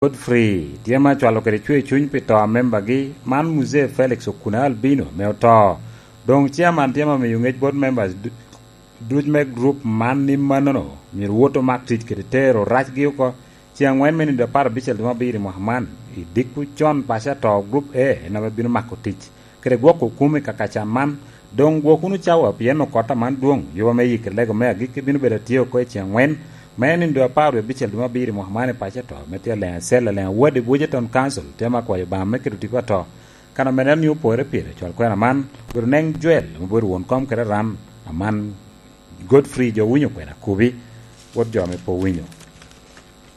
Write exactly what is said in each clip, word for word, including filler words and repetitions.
Godfrey tye ma cwalo kede cwer cuny pi to a membagi, man Muzee Felix Okuna Albino ame oto. Doŋ chairman tye ma miyo ŋec bot members du-, duc me group man ni mannono myero wot omak tic kede tero racgi oko. Ceŋ aŋwen me nino apar abicel dwe me abiro i mwaka man, i dikku con paco ato group A en ame bino mako tic kede gwoko kum i kaka can man. Doŋ gwok wunu cawa, pien okot aman dwoŋ, yuba me yikki lego me agikki bino bedo atye oko i ceŋ aŋwen, me nino dwe apar wie abicel dwe me abiro i mwaka man i paco ato, me tye aleŋ acel, aleŋ awadi Bujeton Council, tye ma kwayo Obaŋa me keto tipo ato. Kan ame neno ni opore pire, cwal kwena man, obedo neŋ Joel, ame obedo won kom kede ran, aman Godfrey jo winyo kwena kubi, wot jo ame pe owinyo.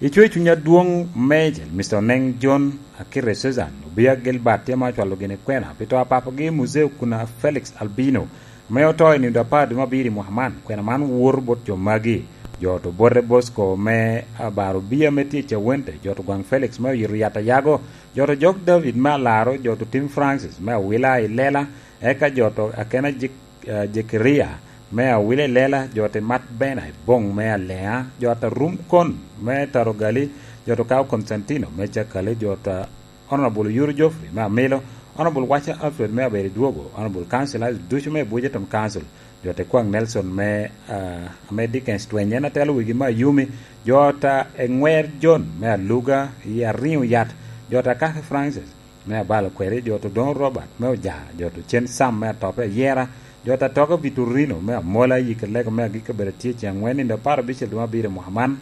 I cwer cuny adwoŋ, Major Mister Oneng John Akite Susan, Obia Gilbert tye ma ocwalo gini kwena pi to a papagi Muzee Okuna Felix Albino, ame oto i nino apar dwe me abiro i mwaka man. Kwena man woto bot jo magi: jo to bote Bosco me Abaro Obia me tye i Cawente, jo to Gwaŋ Felix me oyito yat ayago, jo to Jok David me Alaro, jo to Tim Francis me Awila i Lela, eka jo to Akena Jek-, eh, Jekaria me Awila i Lela, jo to Mat Bena i Boŋ me Aleŋa, jo to Rum Kon me Tarogali, jo to Kao Constantino me Cakali, jo to Honorable Yuru Geoffrey me Amilo, Honorable Wacha Alfred me Aberi Dwogo, Honorable Councillors ducu me Bujeton Council, jo to Kwaŋ Nelson me, ah, ame Dickens Tweny en atelo wigi me Ayumi, jo to Eŋwer John me Aluga i Ariŋo Yat, jo to Kaki Francis me Abalo Kweri, jo to Doŋ Robert me Oja, jo to Cen Sam me Atope Ayera, jo to Atoka Vitorino me Amola, yikki lego me agikki obedo atye ceŋ aŋwen nino apar abicel dwe me abiro i mwaka man.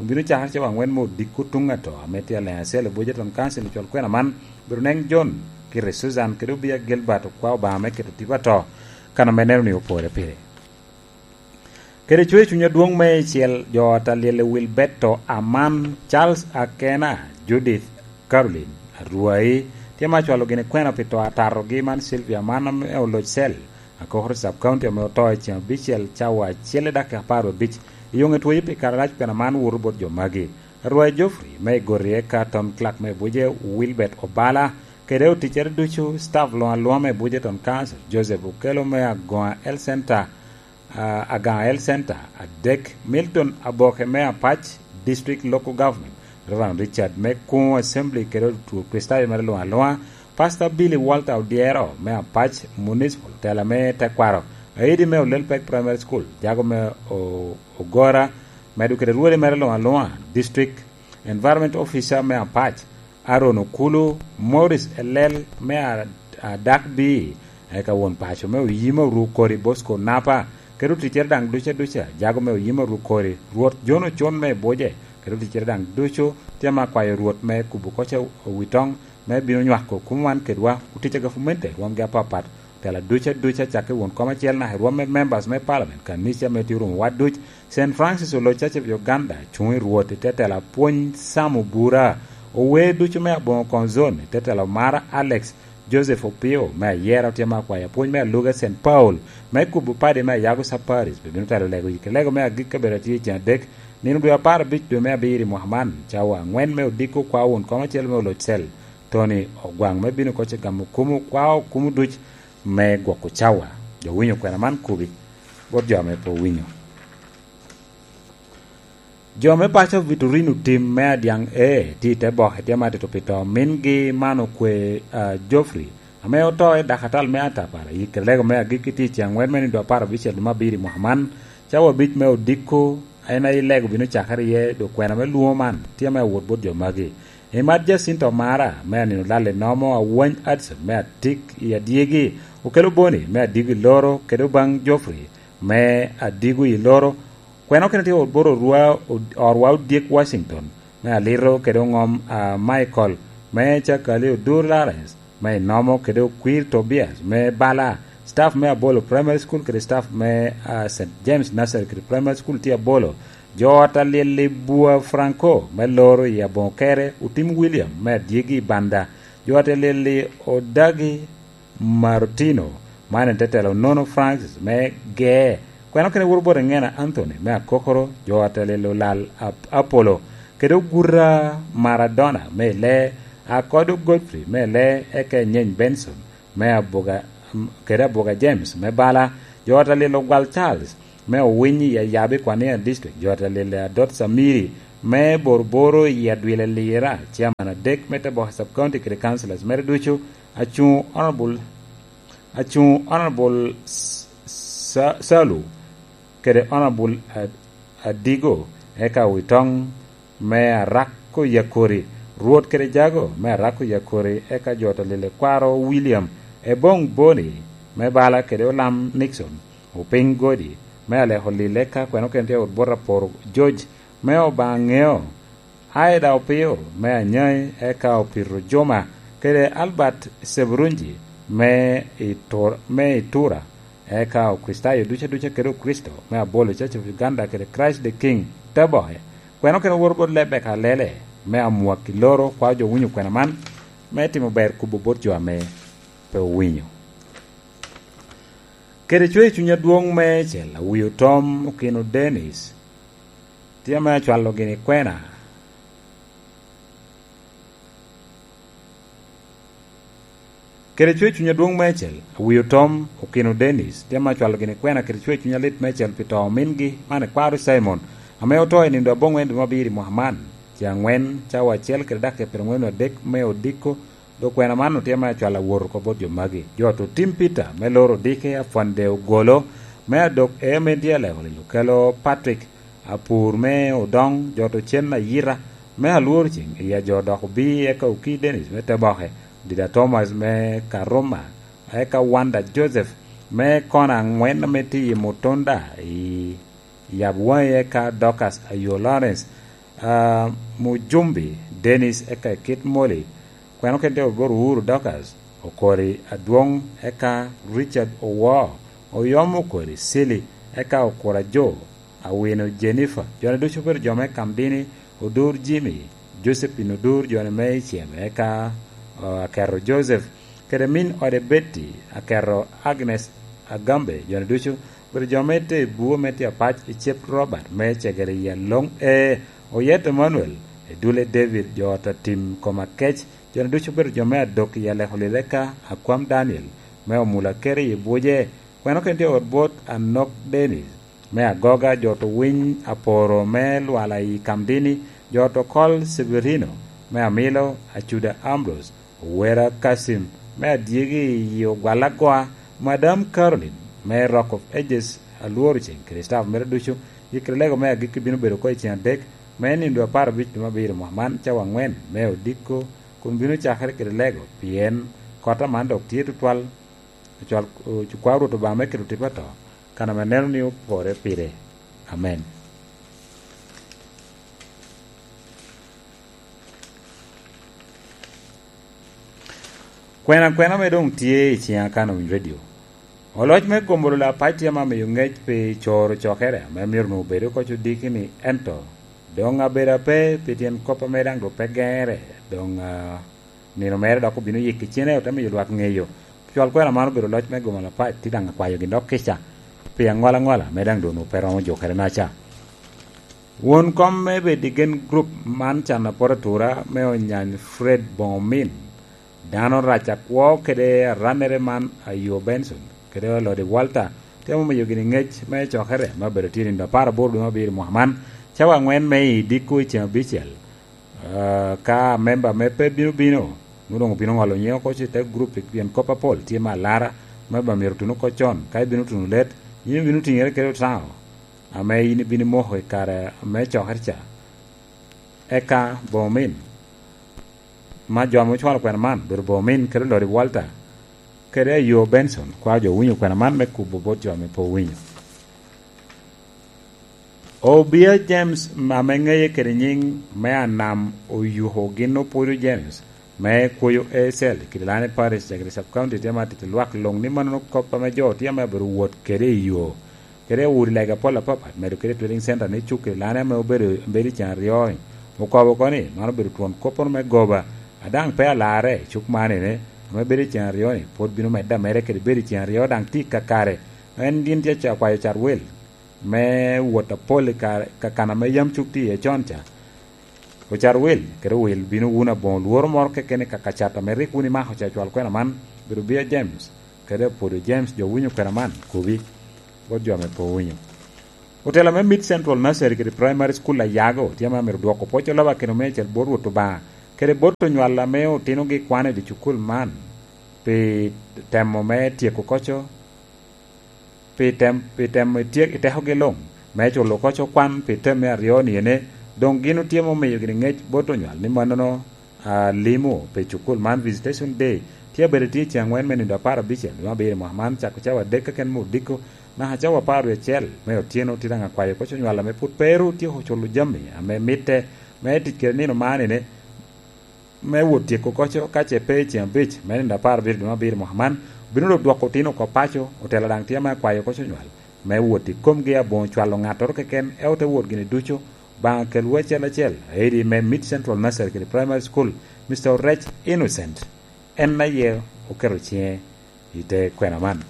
Obino cakere cawa aŋwen me odiko tuŋ ato, ame tye aleŋ acel i Bujeton Council i cwal kwena man, obedo Oneng John Akite Susan kede Obia Gilbert, okwa Obaŋa me keto tipo ato, kan ame neno ni opore pire. Kede cwer cuny adwoŋ meicel, jo ot a lyel i Wilberto Aman, Charles Akena, Judith Caroline Arwai, tye ma cwalo gini kwena pi to atatogi man, Sylvia Aman ame oloc cel Akokoro Sub County ame oto i ceŋ abicel cawa acel i dakika apar wie abic. I yoŋe twoyo pi kare arac kwena man woto bot jo magi: Arwai Geoffrey me Igoti, eka Town Clerk me Buje Wilbert Obala, kede oticcere ducu, staff luŋ aluŋa me Bujeton Council, Joseph Okello me Agoŋa Health Center, ah, Agaŋa Health Center, adek, Milton Aboke me Apac District Local Government, Reverend Richard me Kuŋo Assembly kede otur Kricitayo mere luŋ aluŋa, Pastor Billy Walter Odyero me Apac Municipal, tela me tekwaro, Aidi me Olel Pek Primary School, jago me O-, Ogora, medo kede rwodi mere luŋ aluŋa, District Environment Officer me Apac, Aaron Okulu, Morris Elel me a-, Adak Bii, eka won paco me Oyima Oru Kori Bosco Napa, kede oticcere daŋ duca duca, jago me Oyima Oru Kori, Rwot John Ocon me Buje, kede oticcere daŋ ducu, tye ma kwayo Rwot me kubo kocca owitoŋ, me bino nywako kumo wan kedwa, otic a gavumenti rwomgi apapat, tela duca duca, cakke won kom acel naka i rwom me members me parliament, kanica me tye orumo wa duc, Saint Francis Oloc Church of Uganda, cuŋ i Rwot i te tela pwony Sam Obura, ower ducu me aboŋo koŋ zone i te tela Omara Alex, Joseph Opio me Ayera tye ma kwayo apwony me aluga Saint Paul, me kubo padi me Ayago Saparis, pe bino telo lego yikki lego me agikki kabedo atye i ceŋ adek, nino dwe apar abic dwe me abiro i mwaka man, cawa aŋwen me odiko kwa won kom acel me Oloc Cel, Tony Ogwaŋ, me bino kocca gamo kumo kwa okumo duc me gwoko cawa. Jo winyo kwena man kubi bot jo ame pe owinyo. Jo me paco Vitorino tim me Adyaŋ A tye i te boke tye ma tito pi to mingi man okwe, ah, Geoffrey, ame oto i dakatal me atapara, i kerego me agikki tye i ceŋ aŋwen me nino apar abicel dwe me abiro i mwaka man, cawa abic me odiko, en aye lego bino cakere iye, dok kwena me lwongo man tye me awot bot jo magi. I mat Jacinto Mara me anino lal i nomo, Awany Adson me Atik i Adyegi, Okello Boni me Adigo i Loro, kede Obaŋ Geoffrey me Adigo i Loro. Kwena okene tye wot bot orwa, od-, orwa Odyek Washington me Alito, kede Oŋom, ah, Michael me Cakali, Odur Lawrence me Inomo, kede Okwir Tobias me Bala, staff me Abolo Primary School kede staff me, ah, Saint James Nursery kede Primary School tye Abolo. Jo ot a lyel i Bua Franco me Loro i aboŋo kere, Otim William me Adyegi i Banda. Jo ot a lyel i Odagi Martino, man en te telo Nono Francis me Gee. Kwena okene woto bot Eŋena Anthony me Akokoro, jo ot a lyel Olal Ap-, Apollo, kede Oguta Maradona me Lee, Akodo Godfrey me Lee, eka Enyeny Benson me Abuga, kede Abuga James me Bala, jo ot a lyel Ogwal Charles me Owiny i Ayabi Kwania District, jo ot a lyel Adot Samiri me Boroboro i Adwil Alira, chairman adek me Teboke Sub County kede councillors mere ducu, acuŋ Honorable, acuŋ Honorable S-, Sa-, Salu kede Honorable Ad-, Adigo, eka Witoŋ me Arako Yakori, Rwot kede Jago me Arako Yakori, eka jo to lile kwaro William Ebong Boni me bala kede Olam Nixon, Opiny Godi me Aleko Lil, eka kweno kene tye ot bot Aporo George me Obaŋeo, Aida Opio me Anyai, eka Opito Juma, kede Albert Seburunji me Itur-, me Itura, eka Okricitayo ducu aduca kede Okricito me Abolo Church of Uganda kede Christ the King Teboke. Kweno kene woro bot Lebeka Lele me Amwaki Loro, kwao jo winyo kwena man, me timo ber kubo bot jo ame pe owinyo. Kede cwer cuny adwoŋ meicel, Awio Tom Okino Dennis, tye ame acwalo gini kwena. Kede cwer cuny adwoŋ meicel, Awio Tom Okino Dennis, tye ame acwalo gini kwena kede cwer cuny alit meicel pi to omingi, man ikwaro Simon, ame oto i nindo aboŋwen dwe me abiro i mwaka man, ce aŋwen, cawa acel kede dakika pyerangwen adek me odiko, dok kwena man otye ame acwalo awot oko bot jo magi. Jo to Tim Peter me loro odike, Afwande Ogolo me Adok, Emendi Aleko Lilo, kelo Patrick Apur me Odoŋ, jo to Cen Ayita me Alworo Ceŋ, i ajo dok obi, eka Oki Dennis me Teboke, Dida Thomas me Karuma, eka Wanda Joseph me Kona Aŋwen ame tye i Mutunda i Yab Waŋi, eka Dorcas Ayo Lawrence, ah, Mujumbi Dennis, eka i Kit Moli, kweno kede Ogoro Uru Dorcas, Okori Adwoŋ, eka Richard Owo, Oyom Okori Sili, eka Okura Jo, Awino Jennifer, jone ducu obedo jo me Kamdini, Odur Jimmy, Josephine Odur, jone me Icem, eka, ah, Aketo Joseph, kede min ode Betty, Aketo Agnes Agambe, jone ducu obedo jo me te buo me tye apac i Cep Robert me Cegere i Aloŋ E, Oyet Emmanuel, Edule David, jo ot Atim Koma Kec, jone ducu obedo jo me Adok i Aleko Lile, eka Akwam Daniel me Omula Kere i Buje, kweno kene tye ot bot Anok Dennis me Agoga, jo to Winy Aporo me Lwala i Kamdini, jo to Kol Severino me Amilo, Acuda Ambrose, Owera Kasim me Adyegi i Ogwal Agoa, Madam Caroline me Rock of Ages, Alworo Ceŋ kede staff mere ducu. Yikere lego me agikki bino bedo oko i ceŋ adek me nindo apar abic dwe me abiro mwaka man, cawa aŋwen me odiko, kun bino cakere kede lego, pien kota man dok tye tutwal. Ocwal, ocwal Rwot Obaŋa me keto tipo ato, kan ame neno ni opore pire. Amen. Kwena kwena ame doŋ tye i ciŋa kan owiny redio. Oloc me gombolo Lapac tye ame omiyo ŋec pi coro cokere ame myero onwoŋo obed oko codiki-ni, ento doŋ abedo ape pi tyen kop ame daŋ doŋ pe geŋere, doŋ, ah, nino mere dok obino yik i cene, ote miyo lwak ŋeyo. Cwal kwena man obedo loc me gomo Lapac, tye daŋ akwayo gin dok kica pi aŋwalaŋwala ame daŋ doŋ onwoŋo pe romo jukere naca. Won kom me Bedi Gen Group man can apot atura me onyany Fred Boŋomin, dano rac akwo kede arannere man Ayo Benson, kede Olodi Walter, temo miyo gini ŋec me cokere me bedo tye nindo apar aboro dwe me abiro mwaka man, cawa aŋwen me i diko i ceŋ abicel. Ah, ka memba me pe bino bino, nwoŋo doŋ obino ŋolo nyiŋe oko i te gurup, pien kop apol tye me alara, memba myero otun oko con. Ka ibino tuno let, yin ibino tiŋere kede otaŋo ame yin ibino moko i kare me cokere ca. Eka Bomin, ma jo ame ocwalo kwena man, obedo Bomin kede Lodi Walter, kede Ayo Benson, kwao jo owinyo kwena man me kubo bot jo ame pe owinyo. Obia James, ame ŋeye kede nyiŋ me Anam Oyuko, gin Opwodo James me Kwoyo Ecel, Kidilani Parish, Cegere Sub County, tye ma tito lwak luŋ ni mannono kop ame jo tye ame abedo wot kede i yo, kede udi lega apol apapat, medo kede Trading Center ni cuk Kidilani ame obedo, bedo i ceŋ aryo-ni, okobo oko ni man obedo twon koppono me goba, a daŋ pe alarre i cuk man ene, ame bedo i ceŋ aryo-ni, pwod bino medde ameda kede bedo i ceŋ aryo, daŋ tye i kakare. En gin tye ca kwayo cat wel me wot apol i ka-, ka kan ame yam cuk tye iye con ca. Ocat wil, kede wil bino wun aboŋo lworo moro keken i ka, ka cat ame rik wun imako ca cwal kwena man, bedo Bia James, kede Apwodo James, jo winyo kwena man, kobi bot jo ame pe owinyo. Otela me Mid Central Nursery kede Primary School Ayago tye ame myero dwoko pwoc oloba kede omecel bot Rwot Obaŋa kede bot onywal ame otinogi kwano i dye cukul man pi temo me tyeko koco, pi tem-, pi temo i tyek-, i tekogi luŋ me culo koco kwan pi tem me aryo ni ene, doŋ gin otye me omiyo gini ŋec bot onywal ni mannono a limo pi cukul man, Visitation Day, tye abedo tye i ceŋ angwen me nino apar abicel dwe me abiro i mwaka man, cako cawa adek keken me odiko naka cawa apar wie acel me otyeno. Tye daŋ akwayo koc onywal ame pwod pe ru otyeko culo jami ame mitte me tic kede nino man ene, me wot tyeko koco ka ce pe i ceŋ abic me nino apar abiro dwe me abiro i mwaka man, obino dok dwoko otino oko paco. Otela daŋ tye ame akwayo koc onywal me wot i komgi aboŋo cwalo ŋattoro keken, ento te wot gini ducu, Obaŋa kelwu acel acel, aidi me Mid Central Nursery kede Primary School, Mister Orec Innocent, en aye oketo ciŋe i te kwena man.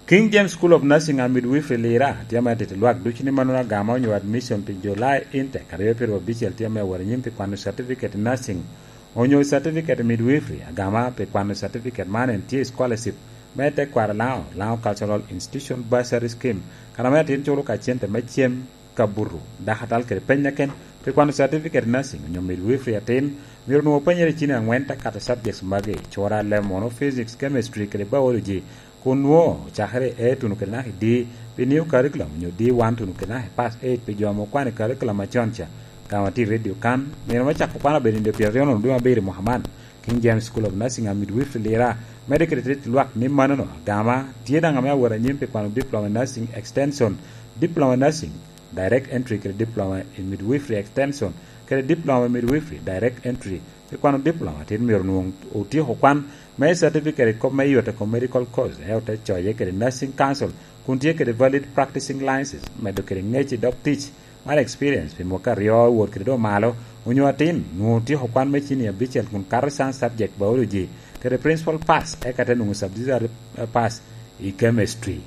King James School of Nursing and Midwifery Lira tye ame atito lwak ducu ni mannono agama onyo admission pi July intake aryo pyeraryo abicel tye ame awot anyim pi kwano certificate nursing onyo certificate midwifery. Agama pi kwano certificate man en tye i scholarship me tekwaro Lango, Lango Cultural Institution Bursary Scheme, kan ame atin culo ka cente me cem, kabuto, dakatal kede peny keken pi kwano certificate nursing onyo midwifery atin, myero onwoŋo openyere i cini angwen te kato subjects magi: cura, lemon, physics, chemistry kede biology, kun nwoŋo ocakere i A tuno kede naka i D pi new curriculum onyo D one tuno kede naka i pass eight pi jo ame okwano i curriculum acon ca. Agama tye i redio kan, nino me cako kwan obedo i nino pyeraryo nono dwe me abiro i mwaka man. King James School of Nursing and Midwifery Lira medde kede tit lwak ni mannono agama tye daŋ ame awot anyim pi kwano Diploma in Nursing Extension, Diploma in Nursing Direct Entry kede Diploma in Midwifery Extension kede Diploma in Midwifery Direct Entry. Pi kwano diploma atin myero onwoŋo otyeko kwan me certificate i kop me yot i kom medical course, ento te coye kede Nursing Council kun tye kede valid practicing license, medo kede ŋec i dog tic mar experience pi mwaka aryo i wot kede do malo, onyo atin nwoŋo otyeko kwan me cini abicel kun kato science subject biology kede principal pass, eka te nwoŋo subsidiary pass i chemistry.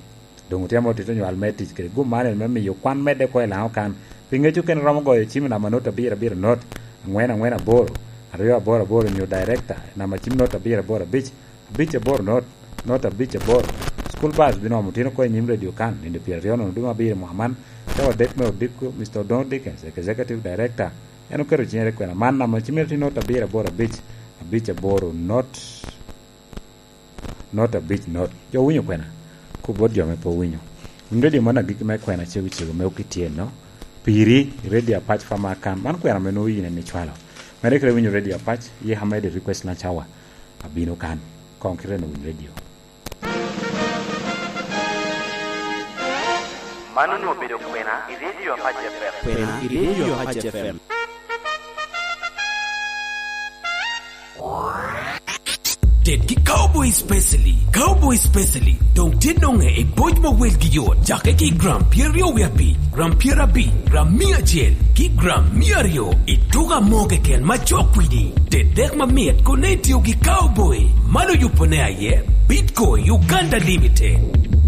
Doŋ otye ame otito nywal me tic kede gum man en me miyo kwan medde oko i Lango kan. Pi ŋec okene romo goyo cim i namba not abiro abiro not, angwen angwen aboro, aryo aboro aboro, onyo director i namba cim not abiro aboro abic, abic aboro not, not abic aboro. School bus bino omo otino oko i nyim redio kan, nino pyeraryo nono dwe me abiro i mwaka man, cawa adek me odiko, Mister Odongo Dickens, executive director, en oketo ciŋere kwena man, namba cim tye not abiro aboro abic, abic aboro not. Not abic not. Jo winyo kwena? Kop bot jo ame pe owinyo. Winy redio man agikki me kwena cego cego me okityenno. Piri, i redio Apac Farmer Account. Man kwena ame nwoŋo yin en icwalo. Mere kede winyo redio Apac, yeka mede request na cawa abino kan. Koŋ kite no winy redio. Man onwoŋo obedo kwena i redio Apac F M. Kwena i redio Apac F M. Ted ki Cowboy Specially. Cowboy Specially doŋ tye noŋe i boc ma welgi yot, cake ki i gram pyeraryo wie abic, gram pyerabic, gram mia acel, ki gram mia aryo. I tuko amo keken ma cok kwidi, ted dek mamit kun itio ki Cowboy. Man oyubone aye Bitco Uganda Limited.